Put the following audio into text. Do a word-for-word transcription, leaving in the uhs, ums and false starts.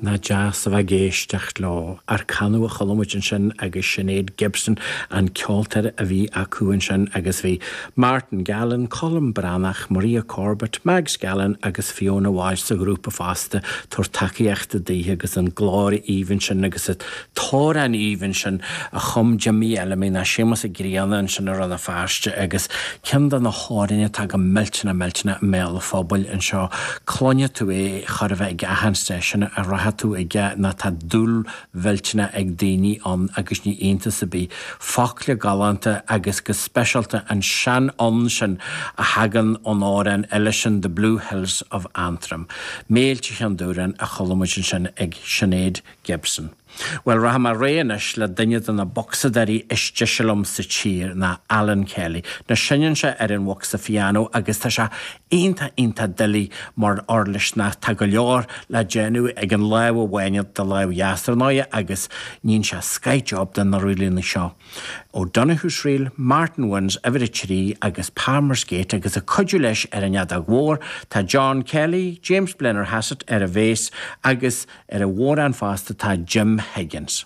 Nach deas a bheith ag éisteacht leo. Arcano a chuala muid ansin agus Sinéad Gibson an ceoltóir a bhí acu ansin agus bhí Martin Gallen, Colm Breathnach, Maria Corbett, Mags Gallen agus Fiona Walsh sa ghrúpa fosta ag tabhairt tacaíochta daoithe agus an glór aoibhinn sin agus an t-amhrán aoibhinn sin a chum Jimmy Fheilimí ná Séamus Ó Grianna ansin i Rann na Feirste agus ceann de na hamhráin atá go millteanach millteanach i mbéal an phobail anseo. Cluinfidh tú é chor a bheith ag achan stáisiún a rachaidh tú aige ná tá dúil mhillteanach ag daoine ann agus ní iontas ar bith. Focla galánta agus go speisialta an seanfhonn sin a thagann ón amhrán eile sin The Blue Hills of Antrim. Méilte Cheann Dúráin a chuala muid ansin ag Sinéad Gibson. Well rachaidh mé ar aghaidh anois le duine de na bocsadóirí is deise liom sa tír ná Alan Kelly. Now seinneann sé ar an bhocsa pianó agus tá sé iontach iontach doiligh mar uirlis ná tá go leor le déanamh ag an lámh amháin do lámh dheas ar ndóigh agus níonn sé skyjob den na rílína seo. O'Donoghue's Reel, Martin Wynne's uimhir a trí agus Palmer's Gate agus ag cuidiú leis ar an fheadóg mhór tá John Kelly, James Blennerhassett ar an bhass agus ar an bhodhrán fosta tá Jim Higgins.